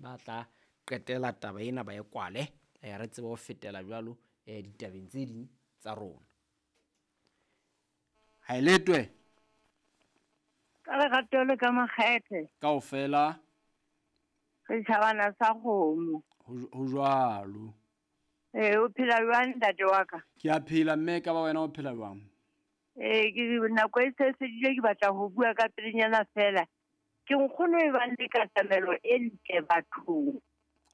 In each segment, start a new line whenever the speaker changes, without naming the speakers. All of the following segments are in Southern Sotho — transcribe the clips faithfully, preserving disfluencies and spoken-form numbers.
ba tla qetela taba ena ba e kwale eh re tsebe ho fetela jwalo eh ditabeng tse ding tsa rona. Ha eletwe
ka lerato le ka makgethe
kaofela
re tjhabana sa kgomo
ho jwalo.
Eh o phela jwang ntate wa ka?
Ke a phela mme ka ba wena o phela jwang?
Eh ke nako e se fedile ke batla ho bua ka pelenyana fela. Ke nkgono e bang le katamelo e ntle bathong.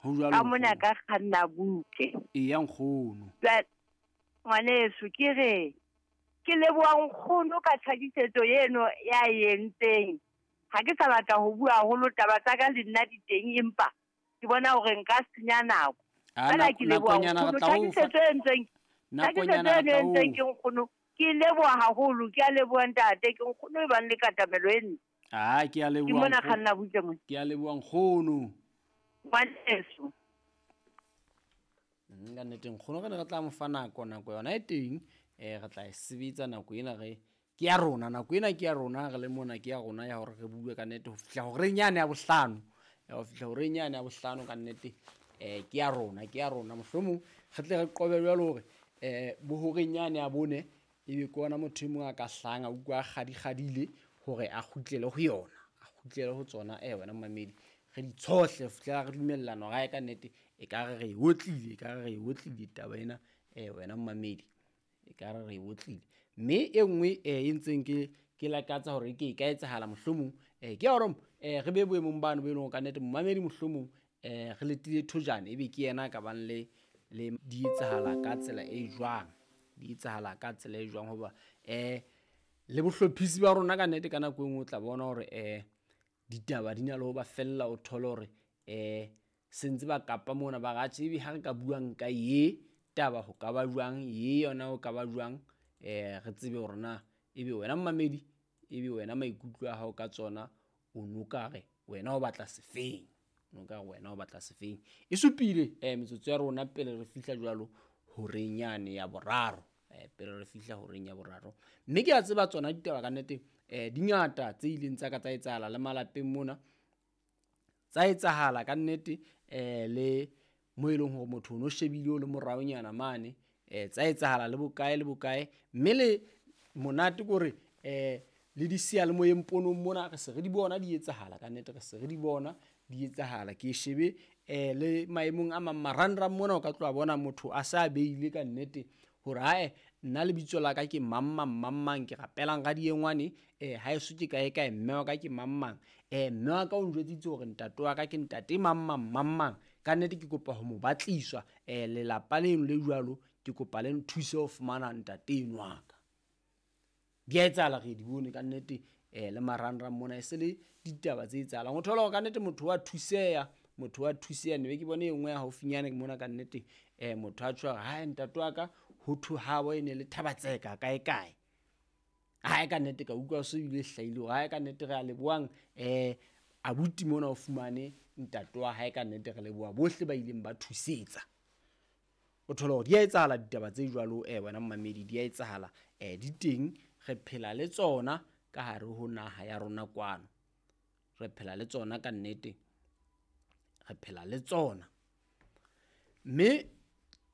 Ho jwalo.
Ka mona ka kganna butle.
Eya nkgono.
Ngwaneso ke re ke leboha nkgono ka tlhakisetso eno ya entseng. Ha ke sa batla ho bua haholo taba tsa ka le nna di teng empa ke bona hore nka senya nako. Fela ke leboha nkgono tlhakisetso e entseng. Tlhakisetso e entseng ke nkgono. Ke leboha haholo, ke a leboha ntate, ke nkgono e bang le katamelo e ntle.
Ah, ke a leboha.
Ke mona kganna butle mona.
Ke a leboha nkgono.
Ngwaneso.
Ka nnete nkgono re ne re tla mo fa nako, nako yona e teng eh re tla e sebetsa nako ena re ke ya rona, nako ena ke ya rona re le mona ke ya rona ya hore re bue ka nnete ho fihla horeng yane ya bohlano, ya ho fihla horeng yane ya bohlano ka nnete eh ke ya rona, ke ya rona mohlomong re tle re qobe jwalo hore eh bo horeng yane ya bone ebe ke ona motho e mong a ka hlahang a utlwa a kgadikgadile hore a kgutlele ho yona, a kgutlele ho tsona eh wena mmamedi re di tshohle fihlela re dumellana hore ka nnete e ka re re e otlile, e ka re re e otlile taba ena eh wena mmamedi e ka re re e otlile. Mme e nngwe eh e ntseng ke ke lakatsa hore ke e ka etsahala mohlomong eh ke ya hore eh re be boemong bano bo e leng hore ka nnete mmamedi mohlomong eh re letile thojane ebe ke yena a ka bang le le di etsahala ka tsela e jwang, di etsahala ka tsela e jwang hoba eh le bohlophisi ba rona ka nnete ka nako e nngwe o tla bona hore eh ditaba di na le ho ba fella o thole hore eh sentse ba kapa mona ba ra tjhe ebe ha re ka buang ka ye taba ho ka ba jwang, ye yona ho ka ba jwang eh re tsebe hore na ebe wena mmamedi ebe wena maikutlo a hao ka tsona o no ka re wena o batla sefeng, o no ka re wena o batla sefeng. E supile eh metsotso ya rona pele re fihla jwalo horeng yane ya boraro eh pele re fihla horeng ya boraro. Mme ke a tseba tsona ditaba ka nnete eh di ngata tse ileng tsa ka tsa etsahala le malapeng mona tsa etsahala ka nnete eh le mo e leng hore motho o no shebile o le moraonyana mane eh tsa etsahala le bokae le bokae. Mme le monate kore eh le di seyalemoyeng ponong mona re se re di bona di etsahala ka nnete, re se re di bona di etsahala. Ke shebe eh le maemong a mang marangrang mona o ka tloha bona motho a sa beile ka nnete hore hae nna lebitso la ka ke mang mang mang mang ke rapelang ka diengwane eh ha eso ke kae kae mme wa ka ke mang mang eh mme wa ka o njwetsitse hore ntate wa ka ke ntate mang mang mang mang ka nnete ke kopa ho mo batliswa eh lelapa leno le jwalo ke kopa le nthuse ho fumana ntate eno wa ka. Di a etsahala re di bone ka nnete eh le marangrang mona e se le ditaba tse etsahalang. O thola hore ka nnete motho wa thuseya, motho wa thuseya ne be ke bone e nngwe ya haufinyane mona ka nnete eh motho a tjho ha ntate wa ka ho thwe habo e ne le Thabatseka kae kae. Ha ka nnete ka utlwa so ile hlahile hore ha ka nnete re a lebohang eh abuti mona o fumane ntate wa hae ka nnete re leboha bohle ba ileng ba thusetsa. O thola hore di a etsahala ditaba tse jwalo eh wena mmamedi di a etsahala eh di teng re phela le tsona ka hare ho naha ya rona kwano, re phela le tsona ka nnete, re phela le tsona. Mme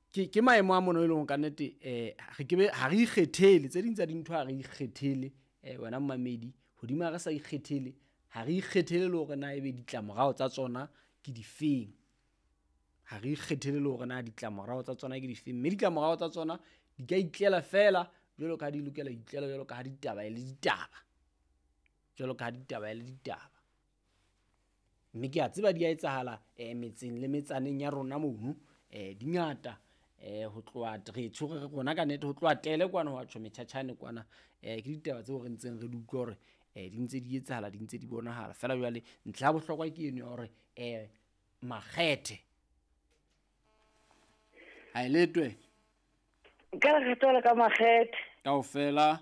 ke ke maemo a mono e leng ka nnete eh re ke be ha re ikgethele tse ding tsa dintho ha re ikgethele eh wena mmamedi hodima re sa ikgethele ha re ikgethele le hore na ebe ditlamorao tsa tsona ke difeng, ha re ikgethele le hore na ditlamorao tsa tsona ke difeng. Mme ditlamorao tsa tsona di ka itlela fela jwalo ka ha di lokela itlela jwalo ka ha ditaba e le ditaba, jwalo ka ha ditaba e le ditaba. Mme ke a tseba di a etsahala eh metseng le metsaneng ya rona mono eh di ngata eh ho tloha re tshwere rona ka nnete ho tloha tele kwana ho tjho metjhatjhane kwana eh ke ditaba tseo re ntseng re di utlwa hore eh di ntse di etsahala di ntse di bonahala fela. Jwale ntlha ya bohlokwa ke eno ya hore eh makgethe ha e letwe
ka lerato le ka makgethe
kaofela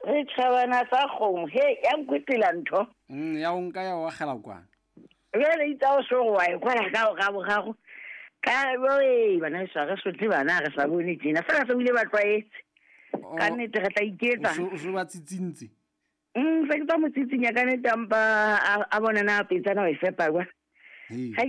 re tjhabana tsa kgomo he ya nkwetela ntho
mm ya o nka ya o akgela kwana
jwale itse o so wa e kwala ka o ga boraro ka oi bana sa re sotle bana re sa bone tjena fela se ile ba tlwaetse ka nnete re tla iketsa
o so ba tsitsintse
mm se ke tsa mo tsitsinya ka nnete ampa a bona na petsana o e fepa kwa ha